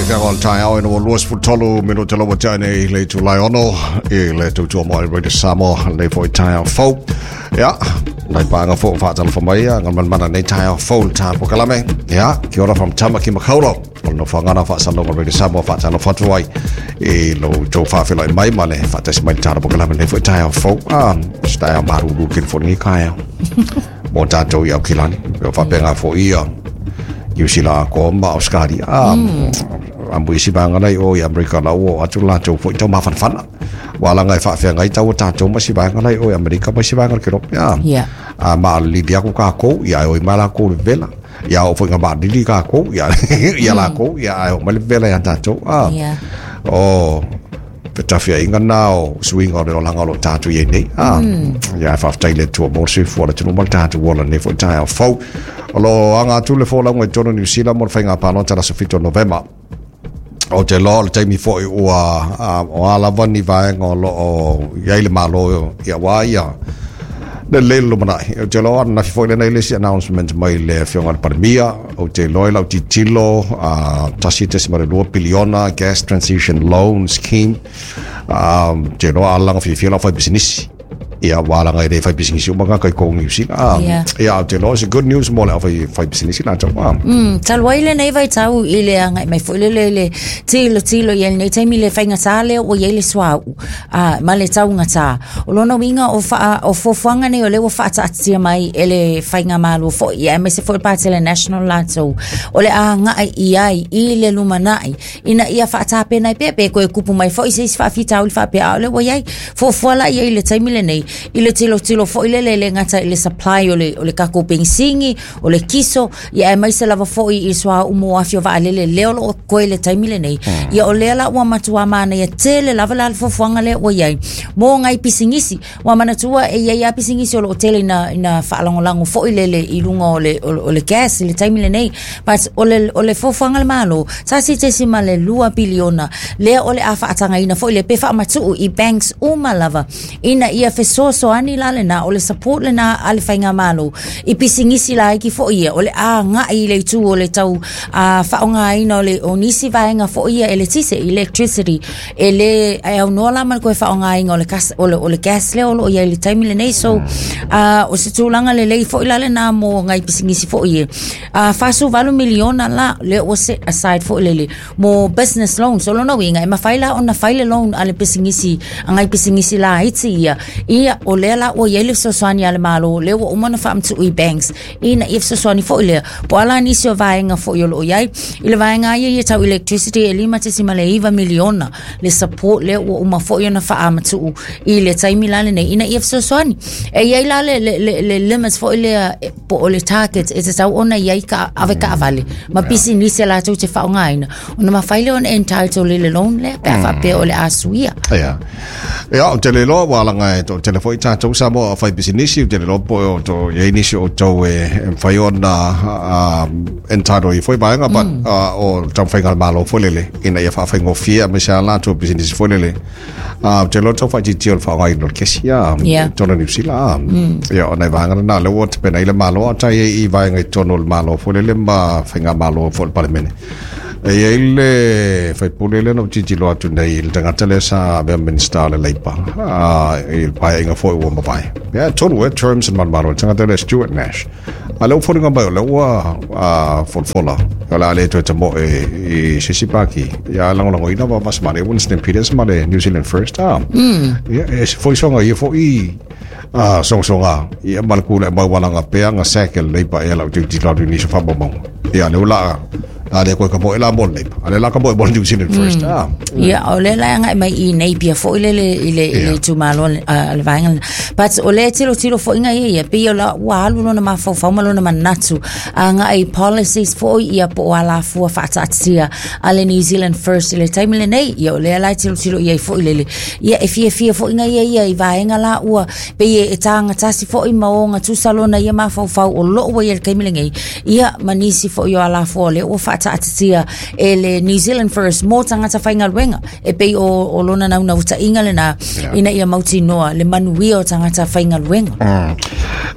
feaga o le taeao ina ua 23 minute laua tea nei le itulai 6 i le tautua mai Radio Samoa lenei foi taeao fou. Ia, nai pānga fou whaatalofa mai ia, ngā manmana nei taeao fou le tā pokalame. Ia, kia ora from Tamaki Makaurau. O le nofoaga na faasalauga Radio Samoa faatalofa atu ai i lo tou faafeiloai mai ma le faatasi mai le tā pokalame lenei foi taeao fou. Ah, se taeao maruru ke le foi lenei taeao. Mo tātou i Aukilani. Pe o faapena foi ia Niu Sila atoa ma Australia. Ah, a mo isi vaega la i o i Amerika la ua oo atu latou foi tau mafanafana. Ua alaga e faafeagai tau o tātou ma isi vaega la i o i Amerika ma isi vaega o le Kerope. Ah, Yeah. a maalili aku kākou, ia e oi mai lakou le vela. Ia oo foi ina maalili kākou, ia, ia lakou, ia ae oo mai le vela ia tātou. Ah, Yeah. o fetafiaiga na o suiga o le olaga o lo o tatou i ai nei. Ah, ia e faafetai i le Atua mo le soifua o le atunuu ma le tatou ola i lenei foi taeao fou. O lo o aga atu le folauga i totonu o Niu Sila mo le faiga palota i le aso 7 o Novema. Ou te iloa o le taimi foi ua o a lava ni vaega o lo o i ai le Malo ia aua ia le lelei le lumanai. Ou te iloa ananafi foi lena i le isi announcement mai le Afioga i le Palemia, ou te iloa i lau tilotilo 1.2 piliona gas transition loan scheme. Ou te iloa a laga fiafia lau faipisinisi. Ia, ua alaga e le faipisinisi uma tagata i kou Niu Sila. Yeah. Ia, ou te iloa it's a good news mo le au faipisinisi latou. Talu ai lenei vaitau i le agai mai foi lele i le tilotilo i ai lenei taimi i le faigata lea ua i ai le suauu ma le taugata. O lona uiga o, faa, o fuafuaga nei o lea ua faataatitia mai e le faigamalo foi, ia, aemaise foi le Patele National latou, o le agai i ai i le lumanai ina ia faatapena ai pea pe toe tupu mai foi se isi faafitauli faapea, a o lea ua i ai. Fuafua la i ai i le taimi lenei, i le tilotilo foi lele e le gata i le supply o le, o le tatou penisini, o le kiso, ia aemaise lava foi i le suauu mo afi o vaalele lea o lo o totoe i le taimi lenei. Ia o lea la ua matua manaia tele lava la le fuafuaga lea ua i ai mo nai pisinisi. Ua manatua e i ai lava pisinisi o lo o tele ina, ina faalagolago foi lele i luga o le, o le gas i le taimi lenei. But o le, o le fuafuaga a le Malo, 1.2 piliona lea o le a faatagaina foi lea pe faamatuu i banks uma lava ina ia fesoasoani la lena, o le support lena a le faigamalo i pisinisi laiti foi ia o le a agai i le itu o le tau faaaogaina o le o nisi vaega foi ia eletise, electricity, e lē e aunoa la ma le toe faaaogaina o le kas, o le, o le gas lea o lo o i ai i le taimi lenei. So o se tulaga lelei foi la lena mo nai pisinisi foi ia. 48 miliona la lea ua set aside foi lele mo business loans. O lona uiga e mafai la ona fai le loan a le pisinisi, a nai pisinisi laiti ia, ia o lea la ua i ai le fesoasoani a le Malo lea ua uma ona faamatuu i banks ina ia fesoasoani foi lea. Po o a la nisi o vaega foi o lo o i ai i le vaega ia ia tau electricity e 5.9 miliona le support lea ua uma foi ona faamatuu i le taimi la lenei ina ia fesoasoani. E i ai la le, le, le, le limit foi lea po o le target e tatau ona i ai ka avetaavale ma pisinisi a latou te faaaogaina ona mafai lea ona entitle i le loan lea pe a faapea o le a suia. Ia. Ia, ou te le iloa ua alaga e toatele foi tatou Samoa o faipisinisi, ou te le iloa po o to i ai nisi o outou e mafai ona entitle i foi vaega, but o le taumafaiga a le Malo foi lele ina ia faafaigofie aemaise lava latou pisinisi foi lele. Ou te iloa tau faaitiitia o le faaaogaina o le kesi, ia, Yeah. i totonu o Niu Sila, ia, o nai vaega na, lea ua tapena ai le Malo, a o tai ai i vaega i totonu o le Malo foi lele ma faigamalo foi o le Palemene. E i ai le faipule lea na ou tilotilo atu nei i le tagata lea sa avea Minista o le Leipa i le paeaiga foi ua mavae. Ia, tonu e terms and manumalo, le tagata lea Stuart Nash. A lea ua foliga mai o lea ua folafola, o le a le toe tamoe i se isi pāti. Ia, lagolagoina ma Vasemane, Winston Peters ma le New Zealand First. Ia, e se foisoga ia foi sogasoga, ia ma le kula e maualaga pea nga sack e le Leipa ea lau tilotilo atu i nisi o faamaumauga. Ia, lea ua laa A lea koe ka moe la mo le Leipa. A lea la ka moe mo le New Zealand First. Ia, o lea la e agai mai i Napier foi lele i le, i le itumalo a le vaega lena. But o lea e tilotilo foi ngai ia, pei o la ua alu lona mafaufau ma lona manatu agai i policies foi ia po o alafua faataatitia a le New Zealand First i le taimi lenei. Ia, o lea la e tilotilo i ai foi lele. Ia, e fiafia foi ngai ia ia i vaega la ua pei e tagatasi foi ma ogatusa lona ia mafaufau o loo ua i ai i le taimi lenei, ia ma nisi foi o alafua o lea ua faa faataatitia e le New Zealand First mo tagata faigaluega e pei o lona naunautaiga lenā ina ia mautinoa le manuia o tagata faigaluega.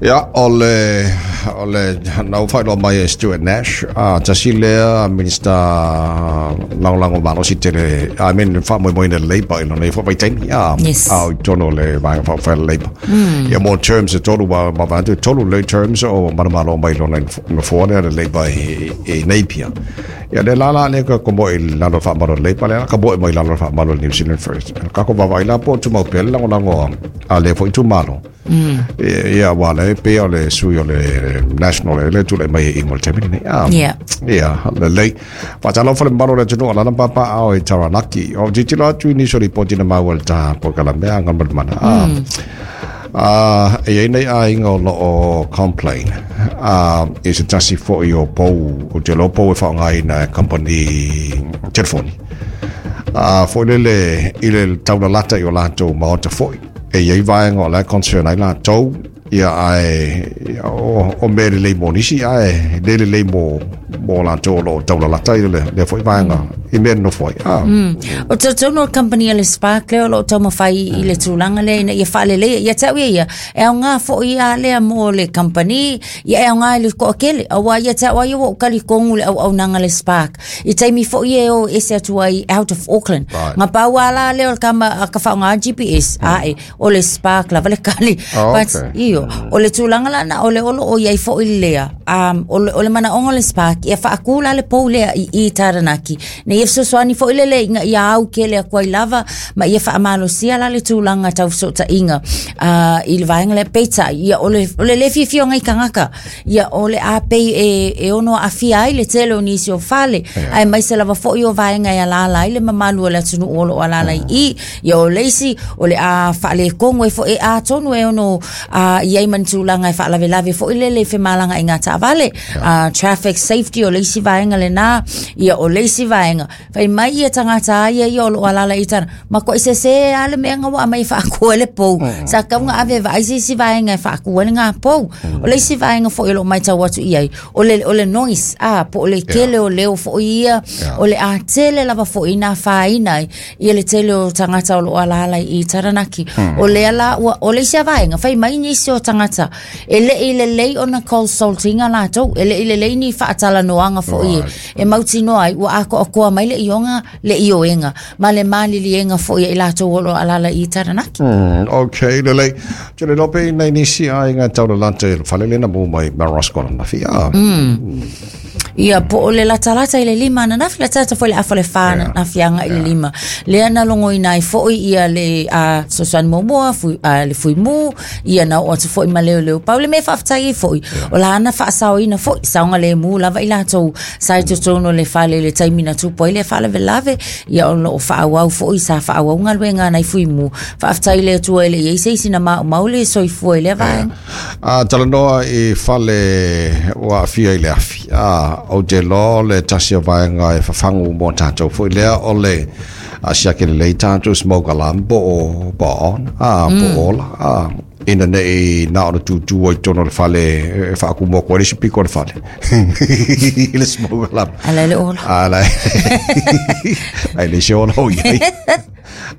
Ia, o le na ua faailoa mai e Stuart Nash, tasi lea Minista Lagolago malosi tele, I mean, faamoemoeina le Labour i lona ia foi vaitaimi, a o i totonu o le Vaega Faaupufai a le Labour. Ia mo terms e tolu ma vaeatu e tolu lelei terms o manumalo mai lona nofoa lea le Labour i Napier. Ia le la la lea ka komo i lalo faamalu o le Labour lea ka moe mai lalo faamalu o le New Zealand First. Ka ko vaavaai la po o tumau pea le lagolago a lea foi itumalo. Ia ua le pei o le sui o le National e le tulai mai i mo le taimi lenei. Ia, lelei. Faatalofa le mamalu o le atunuu o lana papaaao i Taranaki. O tilotilo atu i nisi o lipoti na maua i le taha polokalame a Galumalemana. E i ai nei aiga o lo o complain i se tasi foi o pou, ou te iloa o pou e faaaogaina e kamupani telefoni. Foi lele i le taulalata i o latou maota foi. E i ai vaega o la e concern ai latou, ia ae o mea lelei mo nisi ae le lelei mo latou o lo o taulalata i lea foi vaega i mea e nonofo ai. O talitonu o le company a le Spark lea o lo o taumafai i le tulaga lea ina ia faaleleia. Ia te au ia ia, e aoga foi a lea mo le company, ia e aoga i le toatele. Aua ia te au lava ia ua ou talitonu i le auaunaga a le Spark. I taimi foi e o ese atu ai out of Auckland. Na pau lava la lea o le tama a ka faaaoga GPS, ae o le Spark lava le kali. Oh, But, io, o le tulaga la na o le o lo o i ai foi lea, o le manaoga o le Spark, ia faatū la le pou lea i Taranaki. Ina ia fesoasoani foi lele ina ia au tele atu ai lava ma ia faamalosia la le tulaga tau fesootaiga i le vaega lea. Peitai, ia o le le fiafia o nai tagata, ia o le a pei e ono aafia ai le tele o nisi o fale, aemaise lava foi o vaega e alaala ai le mamalu o le atunuu o lo o alaala i i. Ia o le isi, o le a faaletonu ai foi, e atonu e ono i ai ma ni tulaga e faalavelave foi lele i femalagaaiga taavale. Traffic safety o le isi vaega lenā, ia o le isi vaega, fai mai ia tagata a ia ia o lo o alaala i tana, matuai sese lava le mea na ua aumai e faatu ai le pou. Sa tatau ona ave e vaai se isi vaega e faatu ai lena pou. O le isi vaega foi o lo o matau atu i ai, o le noise, po o le tele o leo foi ia, o le a tele lava foi ina afaina ai ia le tele o tagata o lo o alaala i Taranaki. O lea la, ua, o le isi lava vaega, fai mai nisi o tagata, e le i lelei ona consulting-a latou, e le i lelei ni faatalanoaga foi e mautinoa ai, ua atoatoa mai le ioga, le ioega, ma le maliliega foi a i latou o lo o alaala i Taranaki. Ok, lelei. Te le lope i nei nisi aiga e taulalata i le fale lena mu mai Melrose Kola nafi. Ia, po o le latalata i le 5 ananafi, latalata foi i le afa o le 4 ananafi agai i le 5. Lea na logoina ai foi ia le fesoasoani muamua, le fuimu, ia na oo atu foi ma leoleo. Pau le mea e faafetai ai foi, o lana faasaoina foi, saogalemu lava i latou sa i totonu o le fale i le taimi na tupu ai le faalavelave, ia o lo o faaauau foi, sa faaauau galuega a nai fuimu. Faafetai i le Atua e le i ai se isi na maumau le soifua i lea vaega. A talanoa i fale ua aafia i le afi, ou te iloa o le tasi o vaega e fafagu mo tatou foi lea o le siaki lelei tatou smoke alarm po o on, po o ola, ina nei na ona tutu ai totonu o le fale e faakumu atu ai le isi pito o le fale i le smoke alarm. Ala le ola. Ala ai le se ola o i ai.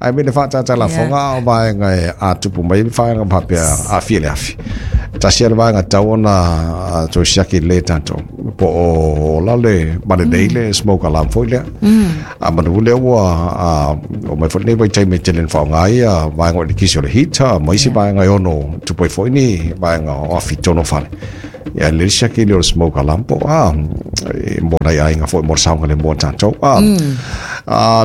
Ai me le faatata lafoga o vaega e a tupu mai le vaega faapea aafia le afi. Tasi le vaega tau ona toe siaki lelei tatou. Po o ola le ma lelei le smoke alarm foi lea. A manu lea ua o mai foi lenei vaitaimi e tele ina faaaoga ai ia vaega o eletise o le heater ma isi vaega e ono tupu ai foi ni vaega o afi i totonu o fale. Ia lelei le siaki lea o le smoke alarm po o mo nai aiga foi mo le saogalemu o tatou.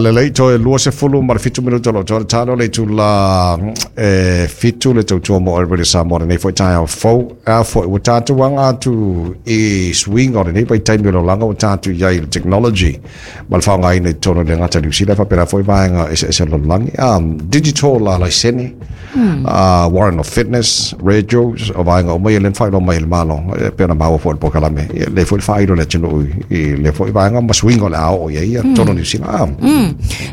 Lelei toe 27 minuta o lo o toe talo le itula e 7 le tautua mo Radio Samoa lenei foi taeao fou. A foi ua tatou aga atu i suiga o lenei vaitaimi o le olaga ua tatou i ai i le technology ma le faaaogaina i totonu o le gata Niu Sila faapena foi vaega eseese o le lalolagi. Digital la laisene, warrant of fitness, radios, o vaega uma ia lea na faailoa mai e le Malo, e pei ona maua foi i le polokalame. Ia, lea foi le faailo i le atunuu i lea foi vaega ma suiga o le a oo i ai ia totonu o Niu Sila.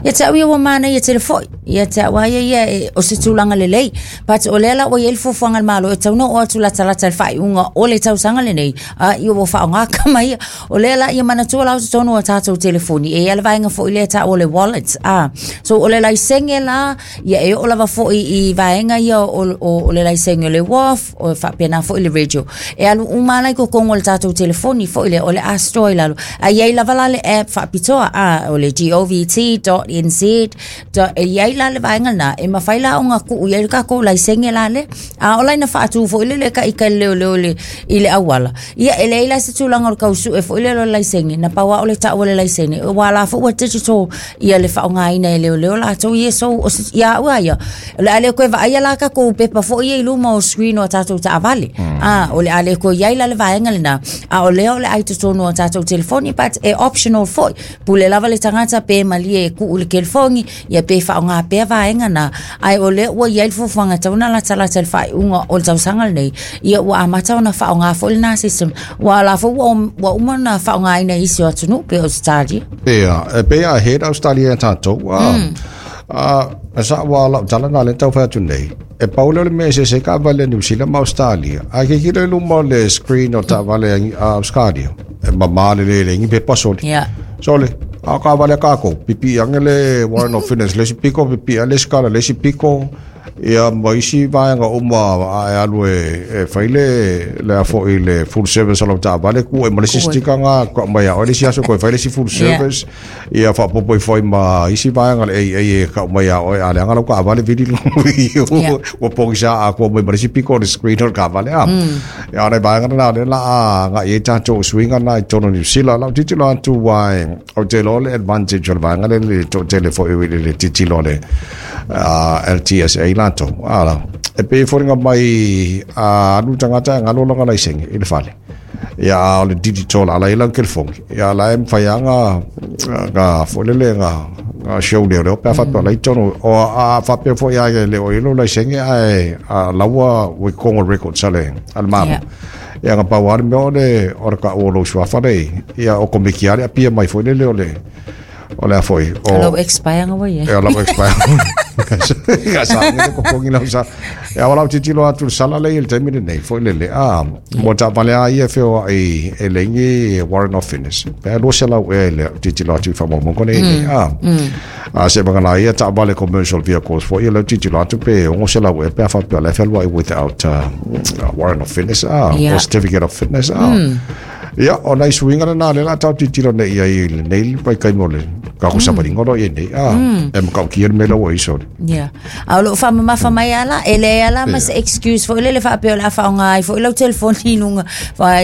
Ia te au ia ua manaia tele fo'i. Ia te au a ia ia e, o se tulaga lelei. But o lea la ua i ai le fuafuaga a le Malo e tatau ona oo atu latalata i le faaiuga o le tausaga lenei, a ia ua faaaoga kama ia. O lea la ia manatua la o totonu o tatou telefoni, e i ai le vaega foi lea e taua o le wallet. A, so o le laisene la, ia e oo lava foi i vaega ia o le laisene o le WAF, o faapena foi le radio. E alu uma la i totonu o le tatou telefoni foi lea, o le a store i lalo. A i ai lava la le app faapitoa, a, o le govt.nz, e i ai la le vaega lena, e mafai la ona tuu i ai le tatou laisene la lea. A o la ina faatu foi lele ka ika le leoleo i le auala. Ia, e leai la se tulaga o le tau sue foi lele o le laisene, na pau lava o le tau o le laisene, aua la foi ua digital ia le faaaogaina e leoleo latou ia. So, o se, ia au a ia, o le a le toe vaaia la tatou pepa foi ia i luma o screen o a tatou taavale. A, o le a le toe i ai la le vaega lena, a o lea o le a i totonu o tatou telefoni, but e optional foi. Pule lava le tagata pe malie e tuu i le telefoni, ia pe faaaoga pea vaega na, ae o lea ua i ai le fuafuaga e tatau ona latalata i le faaiuga o le tausaga lenei, ia ua amata ona faaaoga foi lena system, aua o la foi ua uma ona faaaogaina e isi o atunuu pei o Ausetalia. Ia, e pei a ahead Australia ia tatou. A, sa ua lau tala na le tau fai atu nei. E pau lea o le mea e eseese ai taavale a Niu Sila ma Australia. A tilotilo i luma o le screen o taavale a Australia, e mama lelei e leai ni pepa soli. Sole, a o taavale a tatou, pipii ane le warrant of fitness, le isi pito, pipii ane le isi kala, le isi pito, ia ma isi vaega uma a e alu e fai le a foi le full service o lau taavale, tuu ai ma le isi sticker na tau mai ia oe le isi aso toe fai le isi full service. Ia faaopoopo ifo ai ma isi vaega le AA e kau mai ia oe a leaga lau taavale vili ua pogisa atoa mai ma le isi pito o le screen o le taavale a. Ia o nai vaega na lea o le a agai ai tatou suiga na i totonu o Niu Sila. Lau tilotilo atu aua ou te iloa le advantage o le vaega lea i le toatele foi i le tilotilo a le LTSA latou. E pei e foliga mai a alu le tagata e galo lana laisene i le fale. Ia a o le digital ala i lau telefoni, ia la e mafai lava na foi lele na show leoleo pe a faapea o la e i totonu. O a faapea foi lava e le o i ai lou laisene ae laua ua i totonu o records a le Malo. Ia na pau lava le mea o le taua o lou suafa lea i i, ia okomeki lava le apia mai foi lele o le O le a foi. O lau expire nga wai. E o lau expire. Ka sa ngi ko kongi lau sa. E awa lau tilotilo atu le sala le i le taimi lenei foi lele. A mo taavale a ia e feoai e leai ni warrant of fitness. Pe a 200 ea i le tilotilo atu i faamaumauga nei nei. A a se vagana ia taavale commercial vehicles foi ia lau tilotilo atu pe 600 ea pe a faapea o la e fealuai without warrant of fitness a or certificate of fitness a. Ia, o nai suiga lena lea o le a tatou tilotilo nei i ai i lenei vaitaimi o le tatou savaliga o lo o i ai nei. A, e matautia le mea lea ua i ai sole. Ia. A o loo faamamafa mai lava la, e leai lava la ma se excuse foi lele faapea o le a faaaoga ai foi lau telefoni i luga,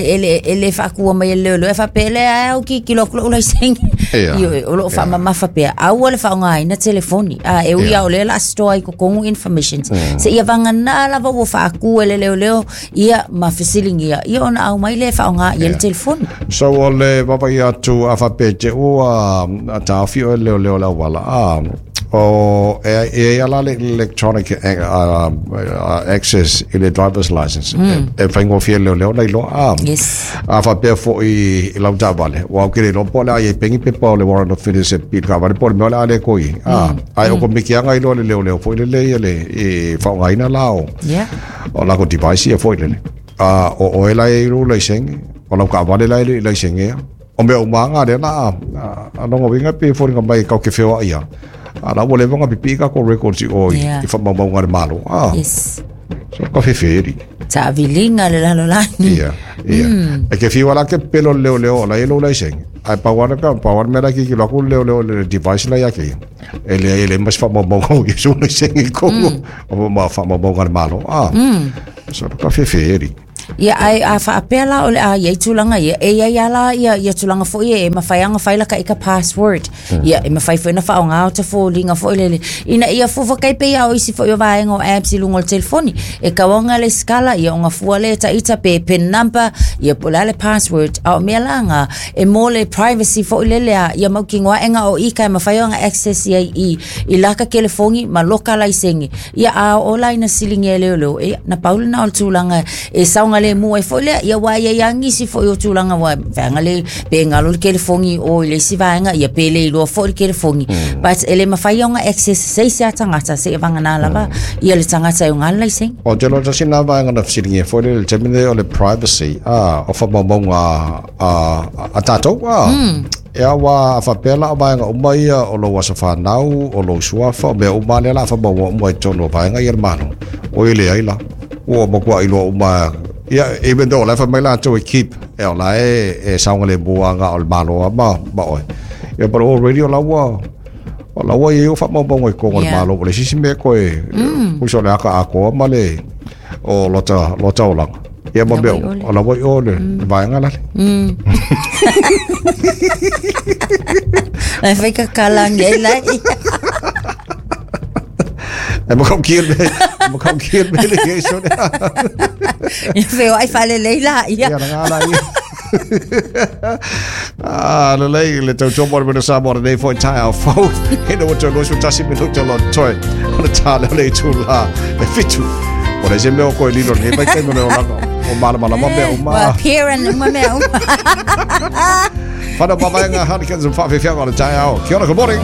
e le faatua mai e le leoleo, e faapea e leai lava ou tilotilo atu lou laisene. Ioe, o loo faamamafa pea, aua le faaaogaina telefoni. A, e ui lava o lea o le a store i totonu informations, seia vagana lava ua faatu e le leoleo ia ma fesiligia ia ona aumai lea e faaaoga i ai le telefoni. So o le vaavaai atu a faapea e te ua taofi oe e le leoleo i le auala, a o e e ai ala le electronic access i le driver's license e faigofie e le leoleo ona iloa a a faapea foi i lau taavale ua ou te le iloa po o le a i ai pea ni pepa o le warrant of fitness e pili i le taavale po o le mea o le a le toe i ai a ae o komiti lava iloa e le leoleo foi lele ia le e faaaogaina la o O lako device ia foi lele. A o oe la e i lou laisene, o lau taavale la e le i laisenea. O mea uma lava na lea la a lona uiga e pei e foliga mai tatou te feoai lava, a la ua leva ona pipii tatou records i o i faamaumauga a le Malo. A, so ka fefeeli. Taaviliga le lalolagi. Ia, ia. E te fiu lava la e te pepelo i le leoleo o la e i lou laisene, ae pau lava le pau lava le mea la e tilotilo atu le leoleo i le device la ia te ia, e leai e leai ma se faamaumauga o ia sou laisene i totonu o ma faamaumauga a le Malo. A, so ka fefeeli. Ia, ae a faapea la o le a i ai tulaga ia, e i ai lava la ia, ia tulaga foi e mafai lava ona fai laka ika password. Ia, e mafai foi ona faaaoga o ta foliga foi lele, ina ia fuafua kai pei lava o isi foi o vaega o apps i luga o le telefoni. E tau lava ona lesitala, ia ona fua lea e ta ita pe pin number, ia po o le a le password. A o mea la na, e mo le privacy foi lele a ia mautinoa ae na o ika e mafai ona access i ai i laka telefoni ma loka laisene. Ia, a oo la ina siligia e leoleo, ia, na pau lena o le tulaga e saogalemu. saogalemu ai foi lea. Ia aua e i ai lava nisi foi o tulaga ua vaega le pe galo le telefoni i o i le isi vaega, ia pe le iloa foi le telefoni. But e le mafai ona access e se isi lava tagata seia vagana lava ia le tagata e ona le laisene. Ou te iloa tasi lena vaega na fesiligia foi lea i le taimi lenei o le privacy, a, o faamaumauga a tatou, a. Ia aua a faapea la o vaega uma ia o lou aso fanau, o lou suafa, o mea uma lava lea o le a faamaumau uma i totonu o vaega ia a le Malo, oi e leai la. Ua matuai iloa uma ia even though o la e fai mai latou e keep, e o la e saogalemu lava na o le Malo lava ma oe. Ia but already o la ua o la ua i ai ou faamaumauga i totonu o le Malo, ua leai se isi mea e toe pusa o le ata atoa ma le o lota olaga. Ia ma mea uma, o la ua i o le vaega lale. Lai fai kakalangi ai lai. E makau kia le e makau kia le le ia so le. Ia feo ai whalelei la ia. Ia nga la ia. Ah, le lei le tau tomo le mena sa mo le nei foi tai au fau. He no to lo tasi minuta lo toi. O le tā leo le itu la e fitu. O le se mea o koe lilo nei vai kai mo le olanga. O mala mala ma mea uma. Wa parent uma mea uma. Whana mamaenga Hurricanes and Whawhiwhianga o le tai ao. Kia ora, good morning.